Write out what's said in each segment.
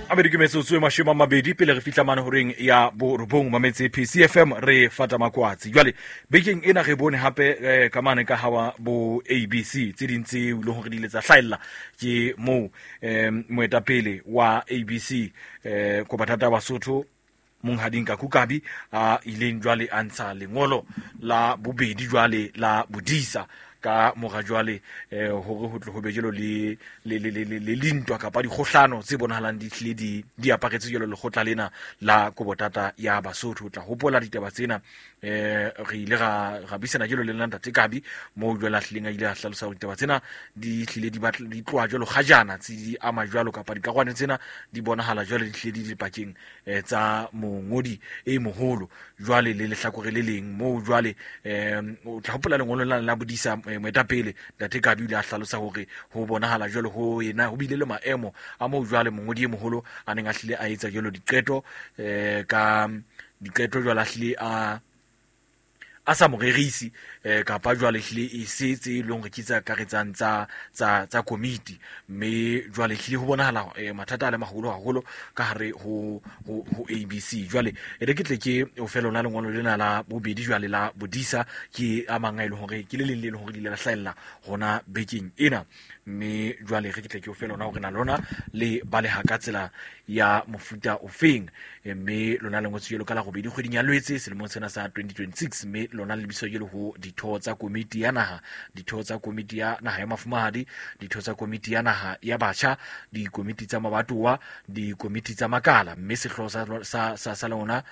Mabedi ke metsotso e 20 pele re fihla mane horeng ya borobong. Mametse PCFM, re fata makwatsi. Jwale bekeng ena re bone hape ka mane ka hawa bo ABC tse ding tse e leng hore di ile tsa hlahella ke moo moetapele wa ABC Kobatata Basotho Monghadi Nkaku Kabi a ileng jwale a ntsha lengolo la bobedi jwale la bodisa ka mora jwale hore ho tle ho be jalo le le le le le lintwa kapa dikgohlano tse bonahalang di tlile di aparetse jalo lekgotla lena la Kobotata ya Basotho. O tla hopola ditaba tsena, re ile ra buisana jalo le nna Ntate Kabi moo jwale a hlileng a ile a hlalosa hore ditaba tsena di hlile di batla di tloha jwalo kgajana tse di ama jwalo kapa dikarolwana tsena di bonahala jwale di hlile di dipakeng tsa mongodi e moholo jwale le lehlakore le leng moo jwale o tla hopola lengolo la bodisa moetapele Ntate Kabi o ile a hlalosa hore ho bonahala jwale ho ena ho bile le maemo a moo jwale mongodi e moholo a neng a hlile a etsa jwalo diqeto ka diqeto jwale a hlile a sa morerisi kapa jwale hlile e se tse e leng hore ke tse akaretsang tsa komiti, mme jwale hlile ho bonahala mathata a le maholo haholo ka hare ho ABC. Jwale e re ke tle ke o fe lona lengolo lena la bobedi jwale la bodisa ke a mang a e leng hore ke le leng le leng hore le ile la hlahella hona bekeng ena, mme jwale re ke tle ke o fe lona hore na lona le baleha ka tsela ya mofuta ofeng, mme lona le ngotswe jwalo ka la robedi kgweding ya Lwetse selemong sena sa 2026, mme lona le lebiswa jwalo ho ditho tsa komiti ya naha, ditho tsa komiti ya naha ya mafumahadi, ditho tsa komiti ya naha ya batjha, dikomiti tsa mabatowa, dikomiti tsa makala, mme sehlooho sa lona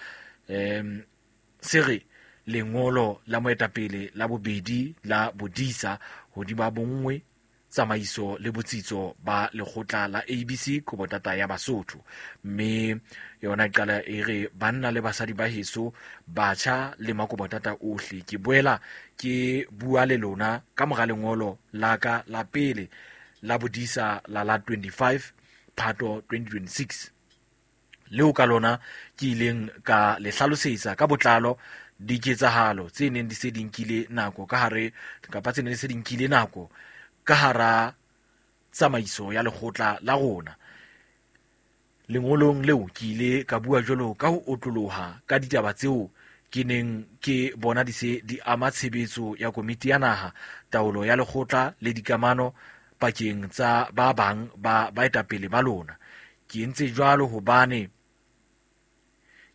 se re lengolo la moetapele la bobedi la bodisa hodima bonngwe, tsamaiso le botsitso ba lekgotla la ABC Kobotata ya Basotho. Mme yona e qala e re banna le basadi ba heso, batjha le makobotata ohle, ke boela ke bua le lona ka mora lengolo la ka la pele la bodisa la 25 Phato 2026 leo ka lona ke ileng ka le hlalosetsa ka botlalo diketsahalo tse neng di se di nkile nako ka hare kapa tse neng di se di nkile nako ka hara tsamaiso ya lekgotla la rona. Lengolong leo ke ile ka bua jwalo ka ho otloloha ka ditaba tseo ke neng ke bona di se di ama tshebetso ya komiti ya naha, taolo ya lekgotla le dikamano pakeng tsa ba bang ba baetapele ba lona. Ke entse jwalo hobane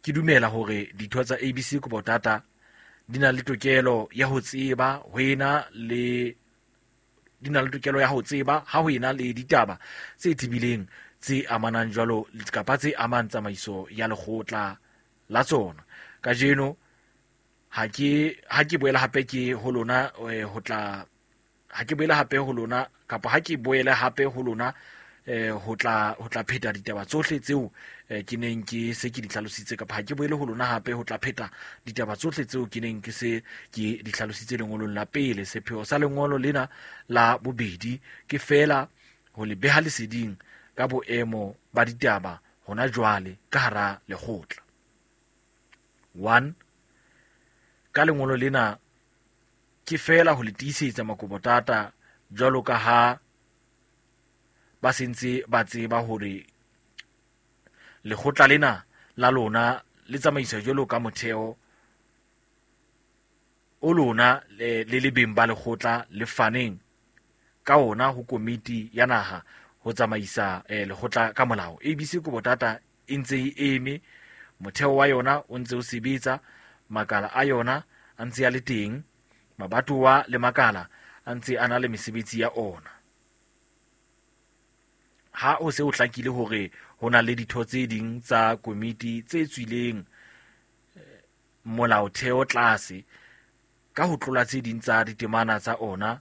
ke dumela hore ditho tsa ABC Kobotata di na le tokelo ya ho tseba ho ena le di na le tokelo ya ho tseba ha ho ena le ditaba tse tebileng tse amanang jwalo kapa tse amang tsamaiso ya lekgotla la tsona. Kajeno ha ke boela hape ke ho lona ho tla ha ke boele hape ho lona kapa ha ke boele hape ho lona ho tla pheta ditaba tsohle tseo ke neng ke se ke di hlalositse, kapa ha ke boele ho lona hape ho tla pheta ditaba tsohle tseo ke neng ke se ke di hlalositse lengolong la pele. Sepheo sa lengolo lena la bobedi ke feela ho le beha leseding ka boemo ba ditaba hona jwale ka hara lekgotla. 1 Ka lengolo lena ke feela ho le tiisetsa makobotata jwalo ka ha ba sentse ba tseba hore lekgotla lena la lona le tsamaiswa jwalo ka motheo o lona le le beng ba lekgotla le faneng ka ona ho komiti ya naha ho tsamaisa lekgotla ka molao. ABC Kobotata e ntse e eme, motheo wa yona o ntse o sebetsa, makala a yona a ntse a le teng, mabatowa le makala a ntse a na le mesebetsi ya ona. Ha o se o hlakile hore ho na le ditho tse ding tsa komiti tse tswileng molaotheo tlase ka ho tlola tse ding tsa ditemana tsa ona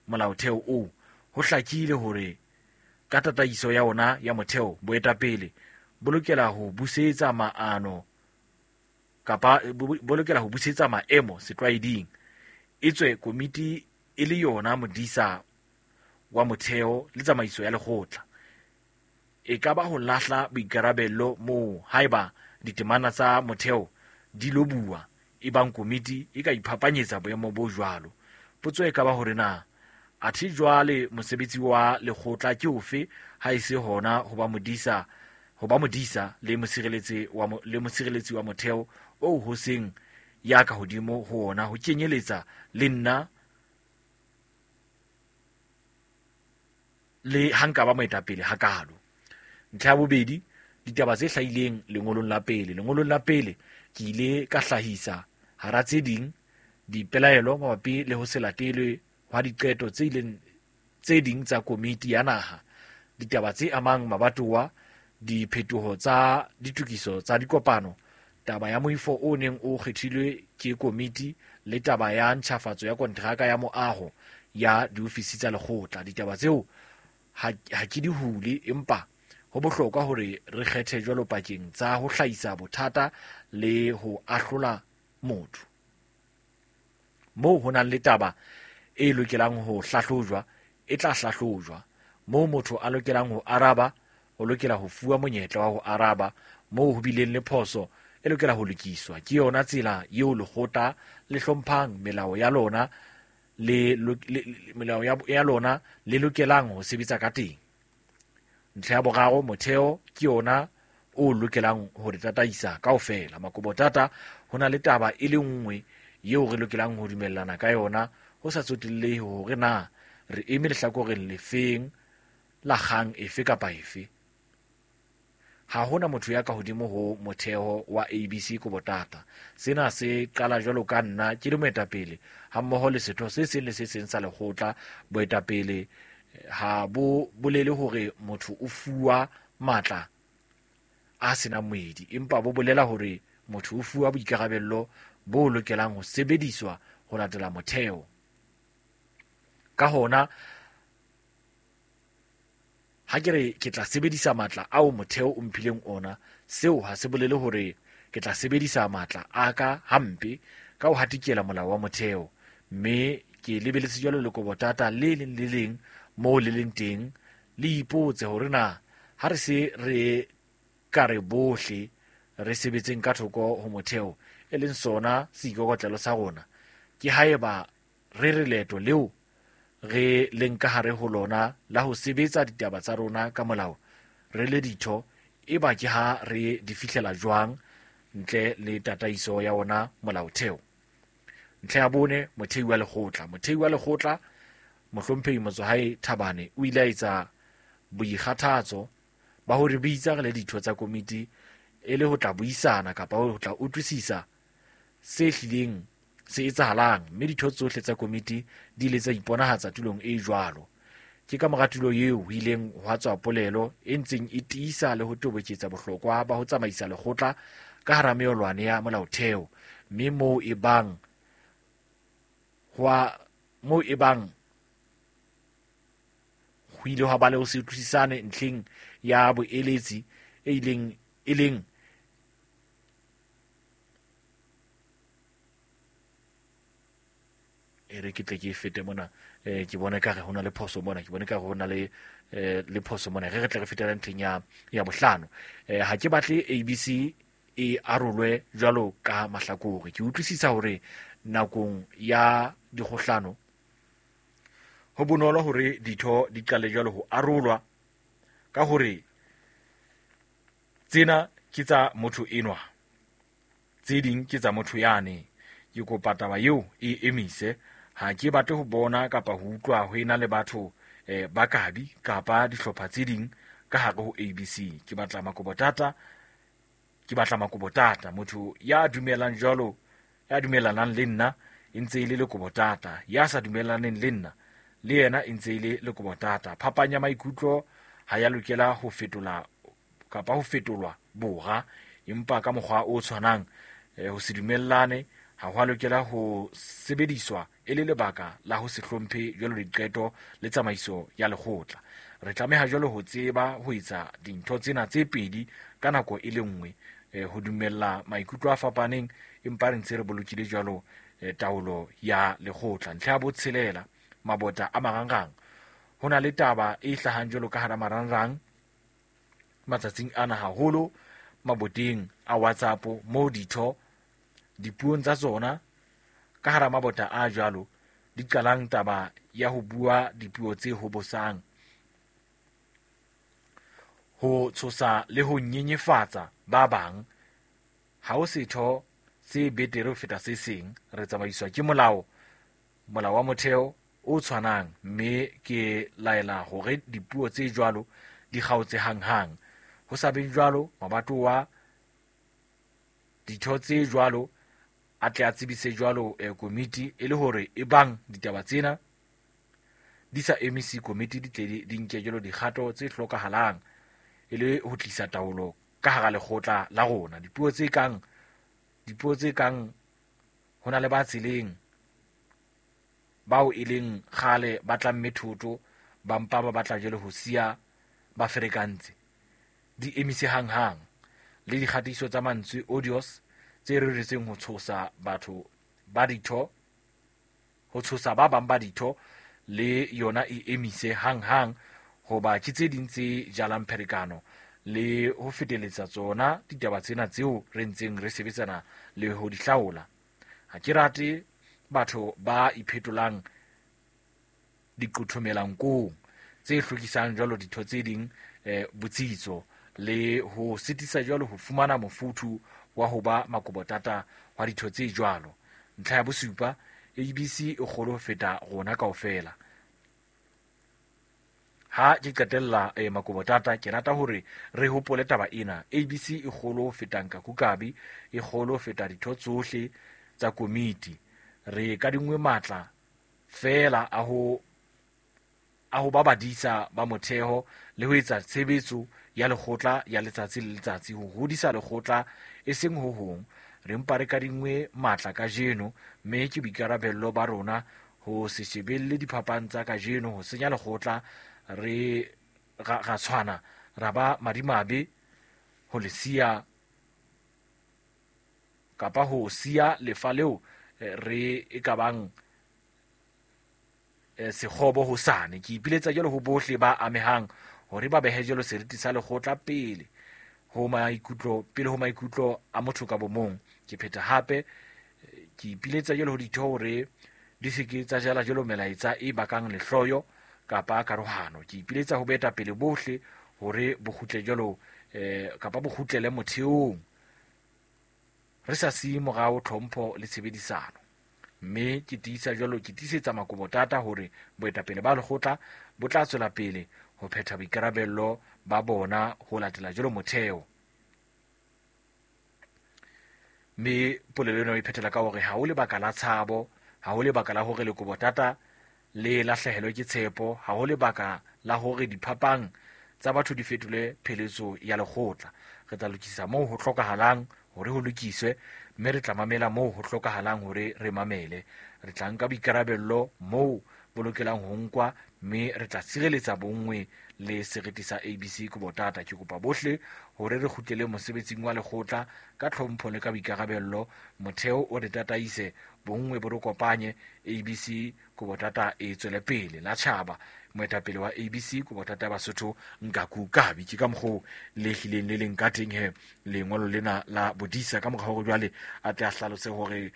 molaotheo oo, ho hlakile hore ka tataiso ya ona ya motheo boetapele bo lokela ho busetsa maano kapa bo lokela ho busetsa maemo setlwaeding, etswe komiti e le yona modisa wa motheo le tsamaiso ya lekgotla. E ka ba ho lahla boikarabello moo haeba ditemana tsa motheo di lo bua, ebang komiti e ka iphapanyetsa boemo bo jwalo. Potso e ka ba hore na athe jwale mosebetsi wa lekgotla ke ofe ha e se hona ho ba modisa ho ba modisa le mosireletsi wa le mosireletsi wa motheo oo ho seng ya ka hodimo ho ona, ho kenyeletsa le nna le ha nka ba moetapele hakalo. Ntlha ya bobedi, ditaba tse hlahileng lengolong la pele. Lengolong la pele ke ile ka hlahisa hara tse ding dipelaelo mabapi le ho se latelwe hwa diqeto tse ileng tse ding tsa komiti ya naha, ditaba tse amang mabatowa, diphetoho tsa ditokiso tsa dikopano, taba ya moifo o neng o kgethilwe ke komiti le taba ya ntjhafatso ya kontraka ya moaho ya diofisi tsa lekgotla. Ditaba tseo ha ke di hule, empa ho bohlokwa hore re kgethe jwalo pakeng tsa ho hlahisa bothata le ho ahlola motho. Moo ho nang le taba e lokelang ho hlahlojwa, e tla hlahlojwa. Moo motho a lokelang ho araba, o lokela ho fuwa monyetla wa ho araba. Moo ho bileng le phoso, e lokela ho lokiswa. Ke yona tsela eo lekgotla le hlomphang melao ya lona le melao ya lona le lokelang ho sebetsa ka teng. Ntlha ya boraro, motheo ke yona o lokelang ho re tataisa kaofela. Makobotata, ho na le taba e le nngwe eo re lokelang ho dumellana ka yona, ho sa tsotellehe hore na re eme lehlakoreng lefeng la kgang efe kapa efe. Ha hona motho ya ka hodimo ho motheo wa ABC Kobotata. Sena se qala jwalo ka nna ke le moetapele hammoho le setho se seng le se seng sa lekgotla. Boetapele ha bo bolele hore motho o fuwa matla a senang moedi, empa bo bolela hore motho o fuwa boikarabello bo lokelang ho sebediswa ho latela motheo. Ka hona, ha ke re ke tla sebedisa matla ao motheo o mphileng ona, seo ha se bolele hore ke tla sebedisa matla a ka hampe ka ho hatikela molao wa motheo. Mme ke lebeletse jwalo le Kobotata le leng le leng moo le leng teng, le ipotse hore na ha re se re ka re bohle re sebetseng ka thoko ho motheo, e leng sona seikokotlelo sa rona, ke haeba re re leeto leo re leng ka hare ho lona la ho sebetsa ditaba tsa rona ka molao re le ditho, eba ke ha re di fihlela jwang ntle le tataiso ya ona molaotheo. Ntlha ya bone, mothei wa lekgotla. Mothei wa lekgotla mohlomphehi Motsohae Thabane o ile a etsa boikgathatso ba hore bitsa re le ditho tsa komiti e le ho tla buisana kapa ho tla utlwisisa se hlileng se etsahalang, mme ditho tsohle tsa komiti di ile tsa iponahatsa tulong e jwalo. Ke ka mora tulo eo ho ileng hwa tswa polelo e ntseng e tiisa le ho toboketsa bohlokwa ba ho tsamaisa lekgotla ka hara meolwane ya molaotheo, mme moo e bang ho ile hwa ba le ho se utlwisisane ntlheng ya boeletsi e leng e re ke tle ke fete mona, ke bone ka re ho na le phoso mona, ke bone ka re ho na le le phoso mona. Re tle re fetela ntlheng ya bohlano. Ha ke batle ABC e arolwe jwalo ka mahlakore. Ke utlwisisa hore nakong ya dikgohlano ho bonolo hore ditho di qale jwalo ho arolwa ka hore tsena ke tsa motho enwa, tse ding ke tsa motho yane. Ke kopa taba eo e emise. Ha ke batle ho bona kapa ho utlwa ho ena le batho ba kabi kapa dihlopha tse ding ka hare ho ABC. Ke batla makobotata, motho ya dumelang jwalo, ya dumelanang le nna e ntse e le lekobotata, ya sa dumelaneng le nna le yena e ntse e le lekobotata. Phapang ya maikutlo ha ya lokela ho fetola kapa ho fetolwa bora, empa ka mokgwa o tshwanang ho se dumellane ha ho a lokela ho sebediswa e le lebaka la ho se hlomphe jwalo diqeto le tsamaiso ya lekgotla. Re tlameha jwalo ho tseba ho etsa dintho tsena tse pedi ka nako e le nngwe, ho dumella maikutlo a fapaneng empa re ntse re bolokile jwalo taolo ya lekgotla. Ntlha ya botshelela, mabota a marangrang. Ho na le taba e hlahang jwalo ka hara marangrang matsatsing ana, haholo maboteng a WhatsApp, moo ditho dipuong tsa tsona ka hara mabota a jwalo di qalang taba ya ho bua dipuo tse hobosang. Ho tshosa le ho nyenyefatsa ba bang ha ho setho se betere ho feta se seng. Re tsamaiswa ke molao, molao wa motheo o tshwanang, mme ke laela hore dipuo tse jwalo di kgaotse hanghang. Ho sa beng jwalo, mabatowa ditho tse jwalo a tle a tsebise jwalo komiti e le hore e bang ditaba tsena di sa emise komiti di tle di nke jwalo dikgato tse hlokahalang e le ho tlisa taolo ka hara lekgotla la rona. Dipuo tse kang ho na le ba tseleng bao e leng kgale ba tlamme thoto ba mpa ba batla jwale ho siya ba ferekantse di emise hanghang, le dikgatiso tsa mantswe audios tse reretsweng ho tshosa batho ba ditho, ho tshosa ba bang ba ditho, le yona e emise hanghang, hoba ke tse ding tse jalang pherekano le ho feteletsa tsona ditaba tsena tseo re ntseng re sebetsana le ho di hlaola. Ha ke rate batho ba iphetolang diqothomelang tse hlokisang jwalo ditho tse ding botsitso le ho sitisa jwalo ho fumana mofuthu wa ho ba makobotata wa ditho tse jwalo. Ntlha ya bosupa, ABC e kgolo ho feta rona kaofela. Ha ke qetella makobotata, ke rata hore re hopole taba ena. ABC e kgolo ho feta Nkakukabi, e kgolo ho feta ditho tsohle tsa komiti. Re kadingwe matla feela a ho ba badisa ba motheo le ho etsa tshebetso ya lekgotla ya letsatsi le letsatsi, ho hodisa lekgotla e seng ho hong. Re mpa re kadingwe matla kajeno, mme ke boikarabello ba rona ho se shebelle diphapang tsa kajeno ho senya lekgotla. Re ra tshwana ra ba madimabe ho le siya kapa ho siya lefa leo re e ka bang sekgobo hosane. Ke ipiletsa jwalo ho bohle ba amehang hore ba behe jwalo seriti sa lekgotla pele ho maikutlo a motho ka bomong. Ke phetha hape ke ipiletsa jwalo ho ditho hore di se ke tsa jala jwalo melaetsa e bakang lehloyo kapa karohano. Ke ipiletsa ho baetapele bohle hore bo kgutle jwalo kapa bo kgutlele motheong, re sa siye morao tlhompho le tshebedisano. Mme ke tiisa jwalo, ke tiisetsa makobotata hore boetapele ba lekgotla bo tla tswela pele ho phetha boikarabello ba bona ho latela jwalo motheo. Mme polelo ena e phethela ka hore ha ho lebaka la tshabo, ha ho lebaka la hore lekobotata le lahlehelwe ke tshepo, ha ho lebaka la hore diphapang tsa batho di fetole pheletso ya lekgotla. Re tla lokisa moo ho hlokahalang hore ho lokiswe, mme re tla mamela moo ho hlokahalang hore re mamele. Re tla nka boikarabello moo bo lokelang ho nkwa, mme re tla sireletsa bonngwe le seriti sa ABC Kobotata. Ke kopa bohle hore re kgutlele mosebetsing wa lekgotla ka tlhompho le ka boikarabello. Motheo o re tataise, bonngwe bo re kopanye, ABC Kobotata e tswele pele. La tjhaba, moetapele wa ABC Kobotata Basotho Nkakukabi. Ke ka mokgwa le hlileng le leng ka teng he lengolo lena la bodisa, ka mokgwa hore jwale a tle a hlalose hore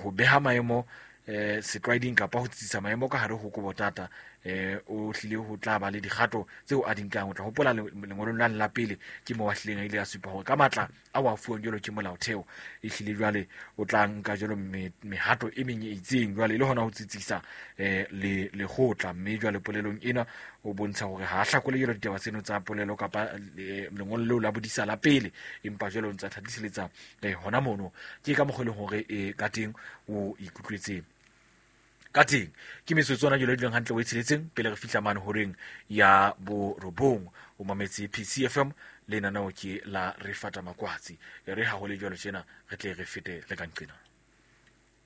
ho beha maemo setlwaeding kapa ho tsitsisa maemo ka hare ho Kobotata o hlile ho tla ba le dikgato tseo a di nkang. O tla hopola lengolong la la pele ke moo a hlileng a ile a supa hore ka matla a wa fuwang jwalo ke molaotheo e hlile jwale o tla nka jwalo mehato e meng e itseng jwale le hona ho tsitsisa le lekgotla. Mme jwale polelong ena o bontsha hore ha a hlakole jwalo ditaba tseno tsa polelo kapa lengolo leo la bodisa la pele, empa jwale o ntsa thatiseletsa hona mono. Ke ka mokgwa e leng hore ka teng o ikutlwetse ka teng. Ke metsotso ona jwale e duleng hantle o e tsheletseng pele re fihla mane horeng ya borobong. O mametse PCFM, lenaneo ke la Re Fata Makwatsi. E re ha ho le jwalo tjena re tle re fete le ka nqena.